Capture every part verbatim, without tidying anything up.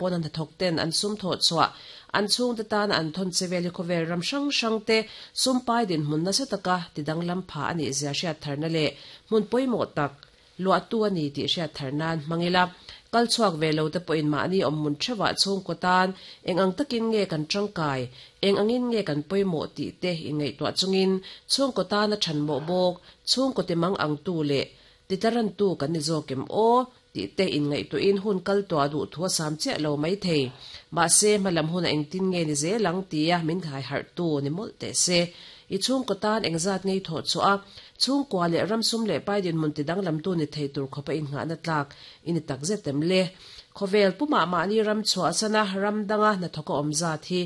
Pawna hnathawk ten an sum thawh chhuah an chhungte tana an thawn che vel hi khawvel ram hrang hrang te sum pai dinhmun nasa taka tidanglam pha a nih zia hriat tharna leh hmun pawimawh tak luahtu a ni tih hriat thar nan hmang ila. Kal chhuak ve lo te pawhin mahni awmhmun theuhah chhungkaw tan eng ang takin nge kan tangkai, eng angin nge kan pawimawh tih te inngaihtuah chungin chhungkaw tana thanmawh bawk, chhungkaw ti mang ang tu leh titlarantu kan ni zawk em aw tih te inngaihtuahin hun kal tuah duh thu a sam chiah lo mai thei. Mahse hmalam hun a engtin nge ni zel ang tia min khai harh tu ni mawlh teh se. I chhungkaw tan engzat ngei thawh chhuah a, chhungkua leh ram sum leh pai dinhmun tidanglam tu ni thei tur khawpa innghahna tlak i ni tak zet em le. Khawvel pumah mahni ram chhuah sana ram danga hnathawka awm zat hi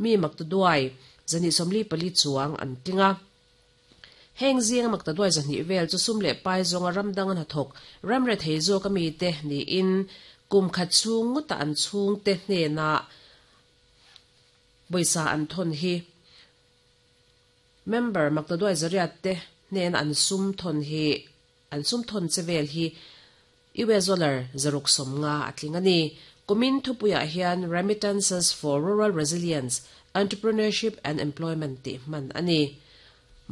mi mak ta duai zani sawmli pali chuang an tling a. Heng zinga mak ta duai zahnih vel chu sum leh pai zawnga ram danga hnathawk ram re thei zawk ami te niin kum khat chhung ngawta an chhung te hnenah pawisa an thawn hi member mak ta duai zariat te hnen an sum thawn hi an sum thawn che vel hi U S dollar zaruk sawm nga a tling a ni. Kumin thupuiah hian Remittances for Rural Resilience, Entrepreneurship and Employment tih hman a ni.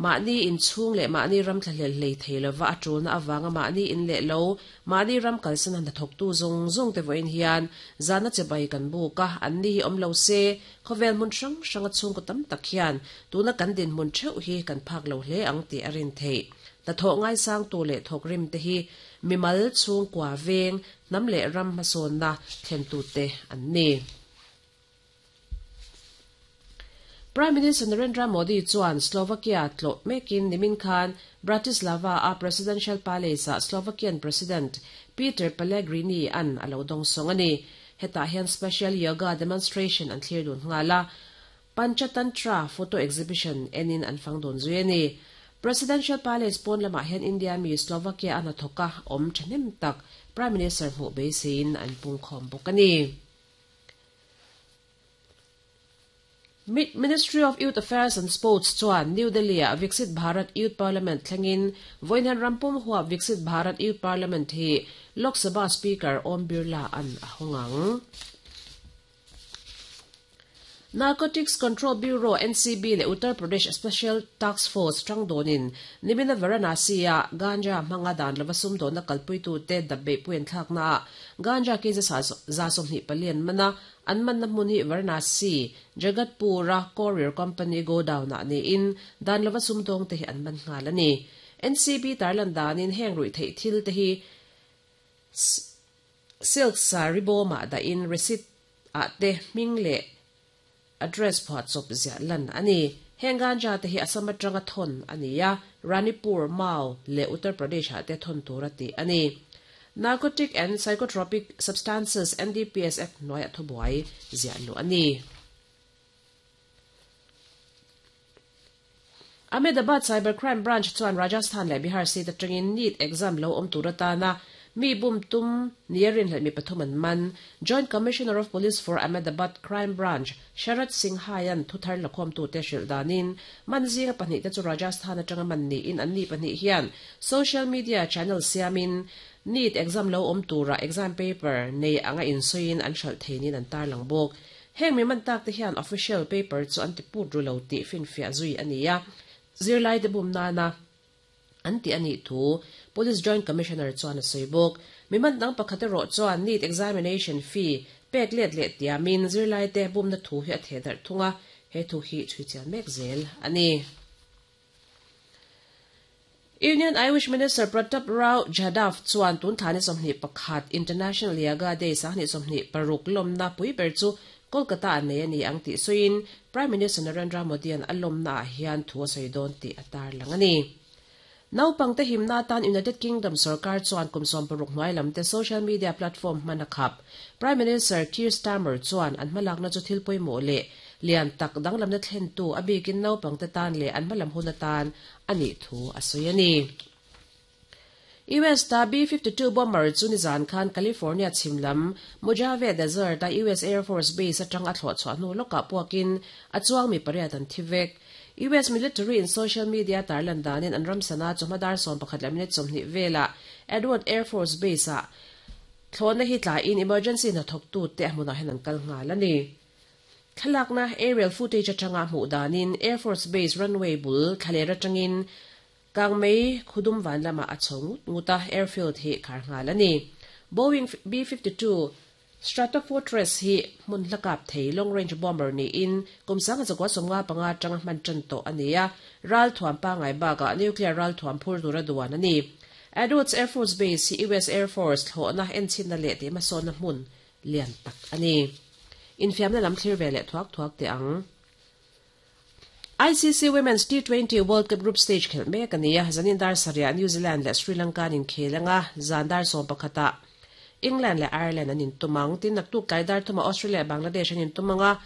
Mahni inchhung leh mahni ram thlahlel hlei thei lova a tulna awanga mahni in leh lo, mahni ram kalsan han hnathawktu zawng zawng te vawiin hian zana che bai kan buk a, an ni hi awm lo se, khawvel hmun hrang hrang a chhungkaw tam tak hian tuna kan dinhmun theuh hi kan phak lo hle ang tih a rin theih. Hnathawh ngaisang tu leh thawk rim te hi mimal chhungkua veng hnam leh ram hmasawnna thlen tu te an ni. Prime Minister Narendra Modi chuan Slovakia tlawh mekin nimin khan Bratislava a Presidential Palace a Slovakian President Peter Pellegrini an a lo dawng sawng a ni. Hetah hian special yoga demonstration an thlir dun nghal a, Panchatantra photo exhibition enin an fang dawn zui a ni. Presidential Palace pawn lamah hian India mi Slovakia a hnathawka awm thahnem tak Prime Minister hmuh beiseiin an pungkhawm bawk a ni. Ministry of Youth Affairs and Sports chuan New Delhi a Viksit Bharat Youth Parliament thlengin vawiin rampum huap Viksit Bharat Youth Parliament hi Lok Sabha Speaker Om Birla an a hawng ang. Narcotics Control Bureau N C B leh Uttar Pradesh Special Task Force tang dawnin nimina Varanasi a ganja hmanga dan lova sum dawnna kalpuitu te dabbe puian thlakna a ganja ke za za sawmhnih palian mana an manna hmun hi Varanasi Jagatpura Courier Company godown ah niin dan lova sum dawng te hi an man nghal a ni. N C B tarlan danin heng rui theih thil te hi silk saree bawmah da in receipt ah te hming leh address phuah chawp ziah lan a ni. Heng ganja te hi Assam atanga thawn a ni a, Ranipur, Mau leh Uttar Pradesh ah te thawn tur a ti a ni. Narcotic and Psychotropic Substances N D P S Act hnuaiah thubuai ziah luh a ni. Ahmedabad Cybercrime Branch chuan Rajasthan leh Bihar state atangin NEET exam lo awm tur atana mi bum tum niarin hleh mi pathum an man. Joint Commissioner of Police for Ahmedabad Crime Branch Sharad Singh Hayan thuthar lakhawm tu te hrilh danin man zinga pahnih te chu Rajasthan atanga man niin an ni pahnih hian social media channel siamin NEET exam lo awm tura exam paper nei anga insawiin an hralh theinin an tarlang bawk. Heng mi man tak te hian official paper chu an ti put ru lo tih finfiah zui a ni a. Zirlai te bum nana an ti ani thu Police Joint Commissioner chuan a sawi bawk. Mi man dang pakhat erawh chuan NEET examination fee pek let leh tiamin zirlai te bumna thu hi a theh darh thung a, he thu hi chhui chian mek zel a ni. Union Irish Minister Pratap Rao Jadhav chuan tun thani sawmhnih pakhat International Yoga Day sahnih sawmhnih paruk lawmna pui ber chu Kolkata an nei a ni ang tih sawiin Prime Minister Narendra Modi an a lawmna ah hian thu a sawi dawn tih a tarlang a ni. Naupang te himna tan United Kingdom sarkar chuan kum sawm paruk hnuai lam te social media platform hman a khap. Prime Minister Keir Starmer chuan an hmalakna chu thil pawimawh leh lian tak danglamna thlen tu a bikin naupang te tan leh an hmalam hun atan a nih thu a sawi a ni. U S ta B fifty-two bomber chu nizan khan California chhimlam Mojave Desert a U S Air Force Base atang a thlawh chhuah hnu lawkah puakin a chuang mi pariat an thi vek. U S military in social media tarlan danin an ram sana chu hmadar sawm pakhat leh minute sawmhnih vela Edward Air Force Base a Thlawhna hi tla in emergency hnathawk tu te a hmunah hian an kal nghal a ni. Thlalakna aerial footage atanga hmuh danin Air Force Base runway bul thlaler atangin kangmei khudum van lamah a chho ngut ngut a, airfield hi khar nghal a ni. Boeing B fifty two Stratofortress hi hmun hla kap thei long range bomber niin kum sanga zakua sawmnga panga atanga hman tan tawh a ni a, ral thuam pangai bakah nuclear ral thuam phur tura duan a ni. Edwards Air Force Base hi U S Air Force thlawhna enchinna leh tih hmasawnna hmun lian tak a ni. Infiamna lam thlir ve leh thuak thuak teh ang. I C C Women's T twenty World Cup Group Stage khelh mek a ni a, zanin dar sarih New Zealand leh Sri Lanka an inkhel anga, zan dar sawm pakhatah England leh Ireland an intum ang. Tin naktuk tlai dar thumah Australia leh Bangladesh an intum anga,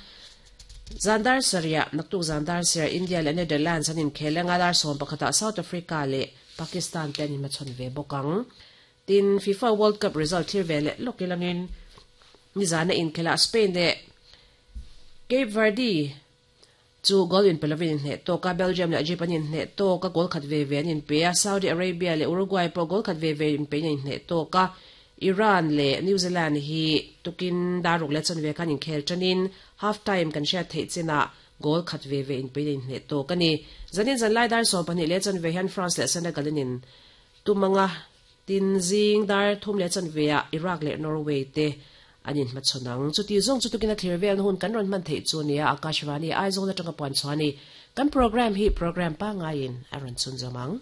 zan dar sarih naktuk zan dar sarih India leh Netherlands an inkhel anga, dar sawm pakhatah South Africa leh Pakistan te an inhmachhawn ve bawk ang. Tin FIFA World Cup result thlir ve leh lawk ilangin nizana inkhelah Spain leh Cape Verde chu goal in pelovin inhneh tawk a, Belgium leh Egypt an inhneh tawk a, goal khat ve ve an inpe a, Saudi Arabia leh Uruguay pawh goal khat ve ve inpe in an inhneh tawk a, Iran leh New Zealand hi tukin daruk leh chanve khan inkhel tanin half time kan hriat theih chinah goal khat ve ve inpe in an inhneh tawk a ni. Zanin zanlai dar sawm pahnih leh chanve hian France leh Senegal in tumanga tin zing dar thum leh chanve ah Iraq leh Norway te an inhmachhawn ang. Chuti zawng chu tukin a thlir vel hun kan rawn hman theih chu nia Akashvani Aizawl atanga puan chuani kan program hi program pangaiin a rawn chhun zawm ang.